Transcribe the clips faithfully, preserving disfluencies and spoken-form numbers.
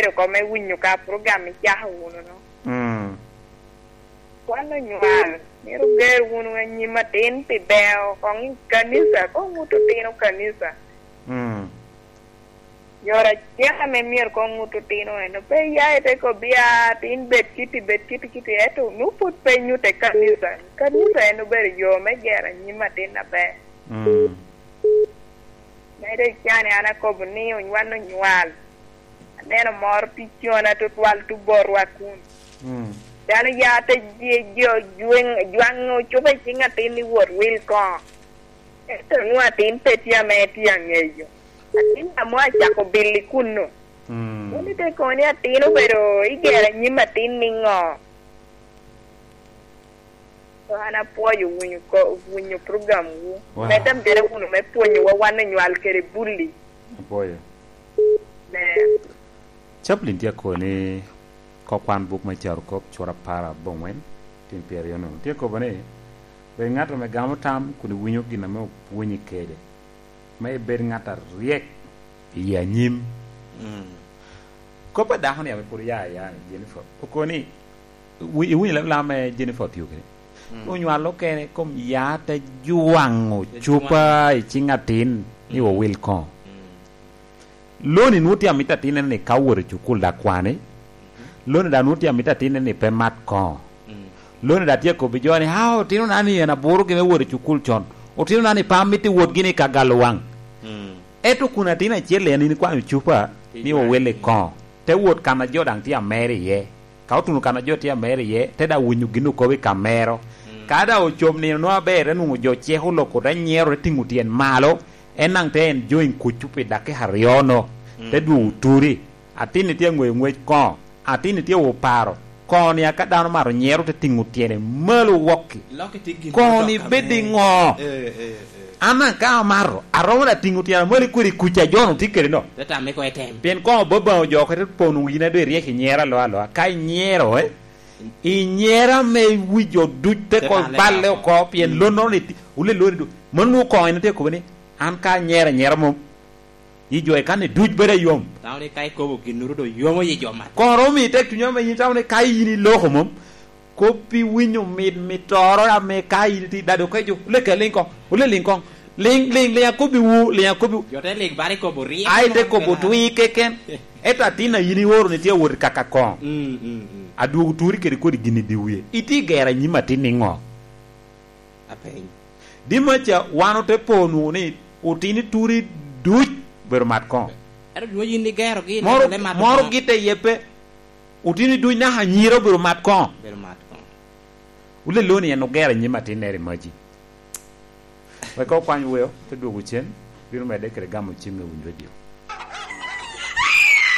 oko me winyo ka program icako wunu no. Mm. Wan onywal, myero oger wunu anyim atin pi beo koŋ i kanisa, koŋ ŋut otino kanisa. Mm. Yore acel ame myero koŋ ŋut otino en, pe iya ite kobbi, "Ah, tin bed kiti, bed kiti, kiti," ento nu pwod pe nyutte kanisa. Kanisa en obedo yo me gero anyim atin aber. Mm. Mede icani an akobo ni wan onywal. Aneno moro tye cona tutwal tubotwa kun. Mm. Dano ya te ji-, jo jweng-, jwaŋo cupa i ciŋ atin ni wot wil koŋo. Ento nwoŋo atin pe tye ame tye aŋeyo. Atin amo acako bilo i kunnu. Mm. Wun ite kono ni atin obedo igero anyim atin niŋo? So an apwoyo winyo ko-, winyo program wu. Wow. Medde mere wunu me pwonyowa wan onywal kede bulli. Apwoyo. Ber. Chaplin tye akobo ni kok kwan buk me Carokop cura apar aboŋwen, tin pyeraryo nunu. Tye akobo ni, "Bed ŋat ame gamo tam kun iwinyo gin ame opwonyi kede, me ibed ŋat aryek i anyim." Mm. Kop a dako-ni ame pwod oya aya ni Jennifer, okobo ni, wi-, iwinyo leb lam me Jennifer Opiyo kede? Mm. Onywalo kene kom ya te jwaŋo cupa i ciŋ atin ni, mm, owil koŋo. Mm. Loni nwoŋo tye amito atinne ni ka owoto i cukul dok kwani. Mm. Loni dok nwoŋo tye amito atinne ni pe mat koŋo. Mm. Loni dok tye akobbi jo ni, "Ah, otinona ni en aburogi me wot i cukul con. Otinona ni pe amito wotgi ni ka galo waŋ." Mm. Ento kun atin acel en in ikwanyo cupa ni owil i koŋo, te wot kan a jo daŋ tye amero iye. Ka otuno kan a jo tye amero iye, te daŋ winyo gin okobo i kamero. Mm. Ka daŋ ocop nino nwoŋo aber, te nwoŋo jo ceko loko, te nyero, te tiŋo tyen malo, en daŋ te enjoying kuc pi dakika aryo-no, mm, te dwogo turi. Atin-ni tye aŋweyo ŋwec koŋo, atin-ni tye oparo. Koŋo-ni aka dano mato nyero te tiŋo tyene malo wokki. Koŋo-ni bed i ŋo? Eh, eh, eh. An daŋ ka amato, aromo daŋ tiŋo tyena malo i kweri kuc a jo-nu tye kede no. Te tamme ko etem. Pien koŋo Obaŋa ojoko te pono wina doŋ iryek inyero aloa aloa. Ka inyero, eh, inyero ame wi jo duc te ko balle oko, pien lonnono ni ti-, wule loni du-, mano nwoŋo koŋo en tye akobo ni, "An ka anyero anyera mom, yi jo i kan-ni duc bedo ayom." Tamo ni ka ikobo ginnoro doŋ yomo yi jo mat. Koŋ romo miyi tek cuny ame yin itamo ni ka yin iloko mom, kop iwinyo mit mittoro ame ka in itye i dado ka jo, "Oleke liŋ koŋ, ole liŋ koŋ, liŋ, liŋ, liŋ akobbiwu, liŋ akobbiwu." Jo te liŋ bala ikobo ryeko. Ai, te kobo twi keken. Ento atin a yin ioro ni tye awot i kaka koŋ. Mm, mm, mm. Adwogo turi kede kodi gin i dye wie. Itye i gero anyim atin niŋo? Apeny. Dimaca wan ote po nwoŋo ni otino i turi duc obedo mat koŋo. Ento nwoŋo yin igerogi, moro, ineno le mato moro koŋo. Gitte iye pe. Otino i duc naka anyira obedo mat koŋo. Obedo mat koŋo. Wule loni en ogero anyim atinnere i maji. Wek okwany weo, te dwogo cen, bino medde kede gamo cim me winyo redio.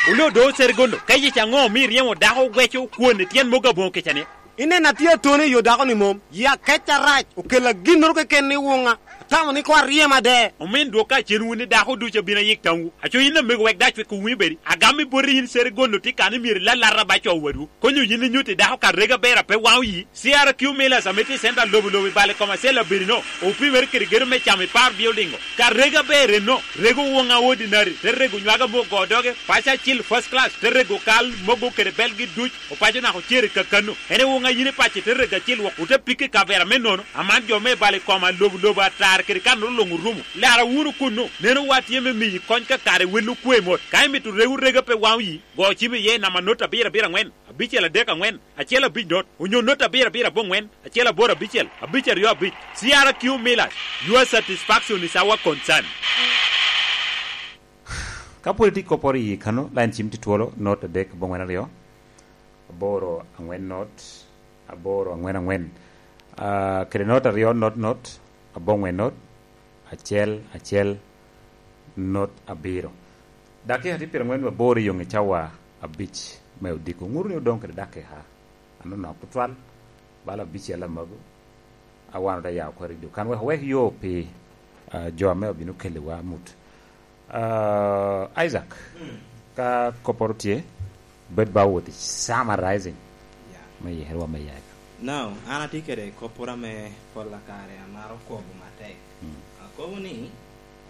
Wule odo Serigondo, ka yec aŋo omio iryemo dako oweco kwon i tyen mogo aboŋo kica-ni? Ineno atye atoni i yo dako-ni mom, yi akec arac, okella ginnoro keken ni wuŋa. Atamo ni koŋ aryem ade. Omin dwok ka cen wun ni dako ducu abino ayik tamwu. Aco yin amego wek dac wek owinyo bedi. Agam i boti yin Serigondo tye kan ni myero ilalata ba co wadwu. Konyo yin inyutti dako ka rega ber a pe waŋ oyi. C R Q Millers ame tye i center lobo lobo i bal i kom acel abiri-no, opimere kede gedo me camo i par building-o. Ka rega ber enno, rego woŋa ordinary, te rego nywaga me ogo doge, paco acil first class, te rego kal mogo kede belgi duc, opaco naka ocere kakano. En i woŋa yin i paci te rego acil wok, ote pikke i kavera me nono, aman jo me bal i koma lobo lobo atar kede kanoro luŋ orumo. Lara wunu kunnu, neno wa tye me miyi kony ka kare wel okwe mot. Ka imito rego rega pe waŋ oyi, go cim iye namba not abiro abiro aŋwen, abicel adek aŋwen, acel abic not, onyo not abiro abiro aboŋwen, acel aboro abicel, abic aryo abic. C R Q Millers, your satisfaction is our concern. Ka pwod itye kopporo i kano, line cim tye twolo, not adek aboŋwen aryo, aboro aŋwen not, aboro aŋwen aŋwen. Ah, kede not aryo not not, aboŋwen not, acel acel not abiro. Dakika tye pyeraŋwen aboro i yoŋe cawa abic me odiko. Ŋuto ni odoŋ kede dakika anonok tutwal, bala abicel amago, a wan ote yao kore i dwe kan wek owek yo pi, ah, jo ame obino keliwa amut. Ah, Isaac, mm, ka kopporo tye, bed ba wot i summarizing, yeah, me yero wa me yaka. Now, an atye kede kopporo ame pol a kare amaro kobo matek. Mm. Akobo ni,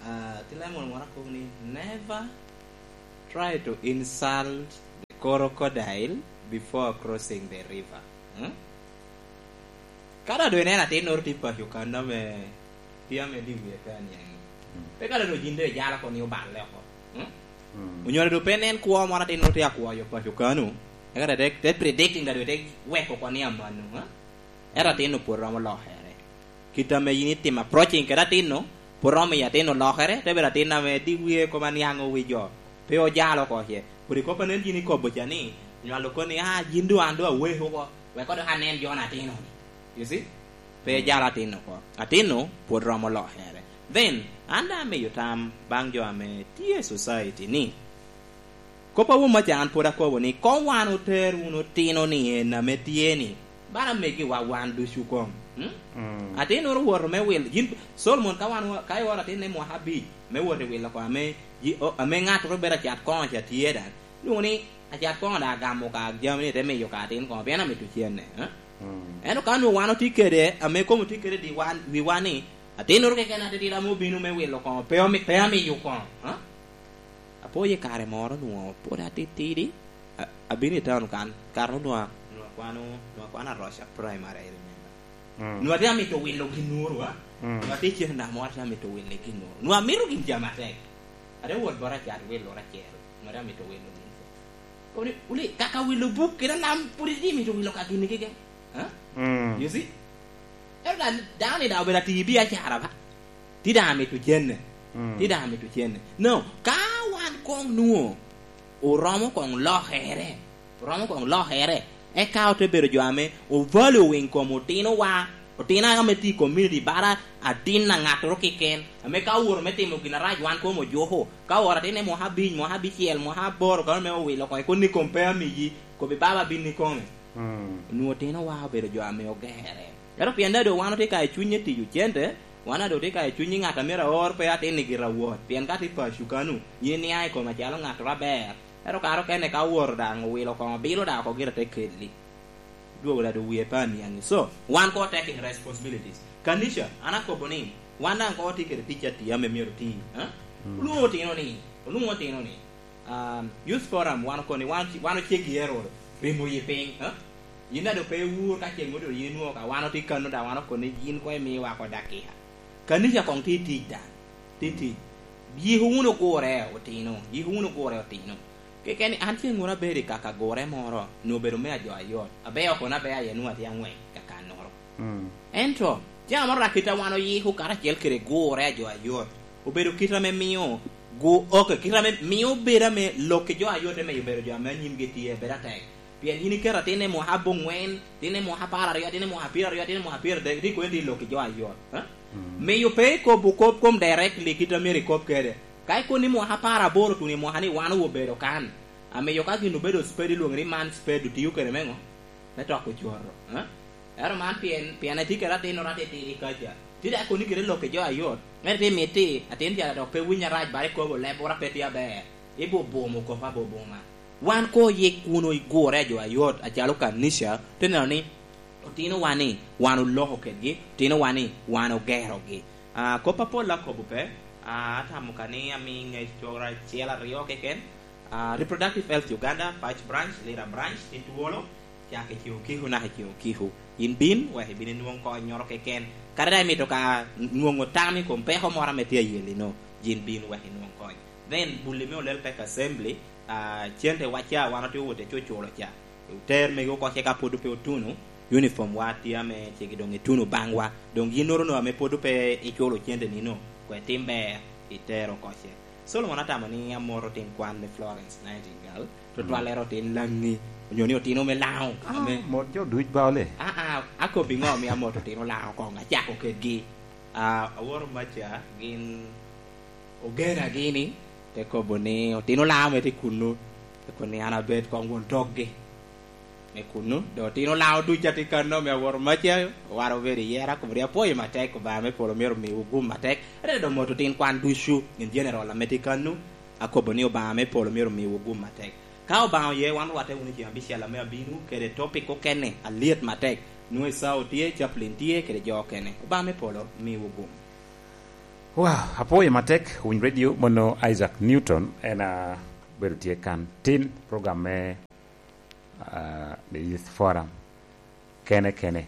ah, ti Lemon moro akobo ni, "Never try to insult the Crocodile before crossing the river. Hmm? Ka dok doŋ ineno atinnoro tye paco kan ame tye ame dye wie pe aniaŋ. Pe ka dok doŋ yin doŋ ijalo oko ni oballe oko. Hmm? Mm. Onyo dok pe nen kwo moro atinnoro tye akwoyo paco kanu. Eka te, te predicting dok te weko oko ni amano. Hmm? Ento atin-nu pwod romo lokere. Kit ame yin itimo approaching kede atin-nu, pwod romo miyo atin-nu lokere, te bedo atin ame di wie kop aniaŋ owic jo, pe ojalo oko ce. Kodi kop a nen yin ikobo ca ni, nywalo koni, "Ah, yin doŋ an doŋ aweko oko, wek kodo anen jo-ni atin-nu." You see? Pe jalo atin-nu oko. Atin-nu pwod romo lokere. Then, an daŋ amiyo tam baŋ jo ame tye i society ni, kop a wun maca an pwod akobo ni, koŋ wan oter wunu otino-ni en ame tye-ni, bala megiwa wan ducu koŋ. Hmm? Mm. Atinnoro owoto me wil, yin, Solomon ka wan wa-, ka ioro atinne mwaka abic, me wot i wilo oko ame, yi-, o-, ame ŋattoro bedo acat koŋ ca tye daŋ, nwoŋo ni acat koŋ daŋ agamo ka jami ni te miyo ka atin koŋ, pien amito cenne, eh? Mm. Ento ka nwoŋo wan otye kede, ame kom otye kede di wan, wiwa ni, atinnoro keken atitidi ame obino me wilo koŋ, pe omi-, pe amiyo koŋ, eh? Apo i kare moro nwoŋo pwod atitidi, a-, abino i town kan, kare onwoŋo, nwoŋo akwano, nwoŋo akwano Aroca Primary, I remember. Mm. Nwoŋo atye amito wilo ginnoro, a? Mm. Nwoŋo atye i cen namo, atye amito wilo ginnoro. Nwoŋo amito gin jami atek. Ate wot bot acat wilo acel, nwoŋo atye amito wilo gin. Koni, wuli, kaka wilo buk kede lam, pwod itye mito wilo ka gini keken. Ha? Mm. You see? Ento daŋ, dano ni daŋ obedo ati i biacara ba. Ti daŋ amito cenne. Mm. Ti daŋ amito cenne. No, ka wan koŋ nwoŋo oromo koŋ lokere, oromo koŋ lokere, eka ote bedo jo ame o value winy kom otinowa, otino ame tye i community, bara atin a ŋattoro keken, ame ka owoto me timo gin arac, wan kom ojuko. Ka owoto atin i mwaka abic, mwaka abicel, mwaka aboro, kano me owilo oko, ikoni kom pe amiyi, kobbi baba bin ikome. Mm. Onwoŋo otinowa obedo jo ame ogere. Ento pien daŋ doŋ wan otye ka i cuny i tiyo cente, wan daŋ doŋ otye ka i cuny i ŋat a myero aor pe atin i gira wot, pien ka tye paco kanu, yin iniaŋ i kome acalo ŋattoro aber. Ento kare okene ka owoto daŋ owilo koŋ obilo daŋ oko gire te kelli. Dwogo daŋ doŋ wie pe aniaŋi. So, wan koŋ taking responsibilities. Kanica, an akobo ni, wan daŋ koŋ otye kede tic atir ame myero oti, eh? Mm. Olwoŋo otino ni, olwoŋo otino ni, Um, Youth Forum, wan okoni, wan, wan oceggi ero rimo yi piny, ha? Yin daŋ doŋ pe iwur ka ceng odoŋ yin nwoŋo ka wan otye kano daŋ wan okoni yin koŋ imiwa oko dakika. Kanica koŋ tye tic daŋ, tye tic. Yiko wunu gure otino, yiko wunu gure otino. Keken an ceng wunu abedo i kaka gure moro, nwoŋo obedo me ajo ayot. Abeo kono abea aye nwoŋo atye aŋwec kakannoro. Mm. Ento, jami moro rak kit a wan oyiko karacel kede gure a jo ayot, obedo kit ame mio gu-, ok, kit ame mio bedo ame lok i jo ayot eme obedo jo ame anyimgi tye, bedo atek. Pien yin iketo atin i mwaka aboŋwen, atin i mwaka apar aryo, atin i mwaka pyeraryo, atin i mwaka pyeradek, rik kono itye i lok i jo ayot, eh? Mm. Miyo pe ikobo kop kom directly kit a myero ikob kede. Ka ikobo ni mwaka apar aboro tuno i mwaka ni wan obedo kan, amiyo ka gin obedo spade, ilwoŋo ni man spade, otio kede me ŋo? Me toko coto, eh? Ento man pien, pien etye kede atin oro atitidi kaca. Tye dok kono kede lok i jo ayot. Ento tye miti, atin ca dok pe winyo arac, bala ikobo leb oro pe tye aber. Ibo bumo kop aboboma. Wan koŋ oyik wunu i gure a jo ayot, acalo kanica, te neno ni otinowa ni wan oloko kedgi, otinowa ni wan ogerogi. Ah, kop apol akobo pe, ah, atamo ka ni ami ŋec coro acel aryo keken. Ah, Reproductive Health Uganda, Pac Branch, Lira Branch, tye twolo, cak i Kiku Kiku naka i Kiku Kiku. Yin bin, wek ibin inwoŋ konnyoro keken. Kadi daŋ imito ka nwoŋo tam i kom peko moro ame tye ayelino, yin bin wek inwoŋ kony. Then, bulli me Olel Pek Assembly, ah, cente wa ca wan otye owot i cuculo ca. Oter megi oko ce ka pwod pe otuno, uniform wa tye ame cegi doŋ ituno baŋwa. Doŋ yinnoro no ame pwod pe iculo cente nino, kwe tim ber, itero oko ce. Solomon atamo ni amoto otin kwan me Florence Nightingale, tutwal ero otin Laŋi, onyo ni otino me Laŋo. Ah, ame mot jo duc ba ole. Ah, ah, akobbi ŋo mi amoto otino Laŋo koŋ, acako kedgi. Ah, aworo maca, gin ogena gini, te kobo ni, "Otino Laŋo me tye kunnu." Te kobo ni, "An abed koŋ won tokgi." Me kunnu, dok otino Laŋo ducu atye kano, me aworo maca, owara obedo i yera, kobo ni, "Apwoyo matek, Obaŋa me polo myero omiwu gum matek." Ate dok moto otin kwan ducu, gin general ame tye kano, akobo ni Obaŋa me polo myero omiwu gum matek. Ka Obaŋa oye, wan orwatte wunu i ceng abicel ame abino, kede topic okene, alyet matek. Nwoŋo Esau tye, Chaplin tye, kede jo okene. Obaŋa me polo miwu gum. Wow, apwoyo matek, Winy Radio, mono Isaac Newton, en a bedo tye kan tin, program me uh, the Youth Forum kene kene.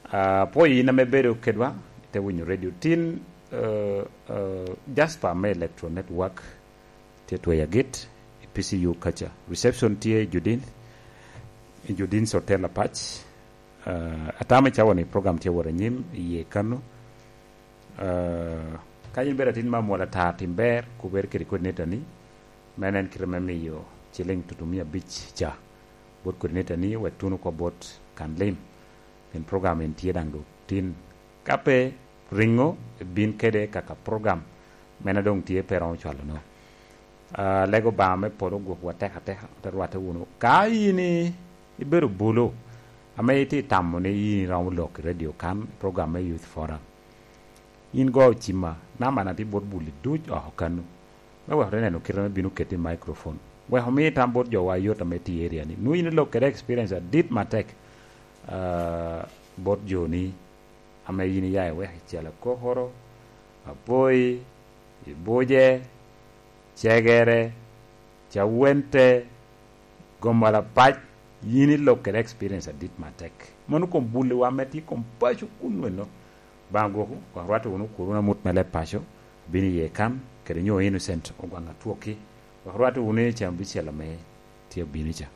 Uh, pwoyo in ame bedo kedwa, ite winyo radio tin, uh, uh, Jasper me Electro Network tye tweyo agit i P C U kaca. Reception tye i Judin, i Judin Hotel Apac. Uh, atamo i cawa ni program tye wot anyim i ye kano. Uh, ka in bedo atin ma mwol ata, tim ber, kubere kede coordinator ni, men en kite me miyo ciling tutu mia abic ca bot coordinator ni, wek tuno ko bot kan lim. Pien program en tye daŋ dok tin. Ka pe, ringo, bin kede kaka program mena doŋ tye pe romo cwalo no. Uh, lego Obaŋa me polo gwokwa tek ateka, te rwatte wunu. Ka in i-, ibedo bulu, ame itye tamo ni in iromo lok i radio kan, program me Youth Forum, in go ocima, namba na tye bot buli duc oko kano. Me wek te neno kite ame bino keti i microphone. Wek omi tam bot jowa yot ame tye i area ni. Nwoŋo in ilok kede experience adit matek, ah, bot joni ame in iya i wek i Cel Akokoro, Apoi, i Buje, Cegere, Cawente, Gomala Pac, yin ilok kede experience adit matek. Mano kom buliwa ame tye kom paco kun weno. Baŋ gwoko, wek rwatte wunu kur wunu amut me leb paco, obino iye kan, kede nyo Innocent Ogwaŋ Atwoki, wek rwatte wunu i cen abicel ame tye obino ca.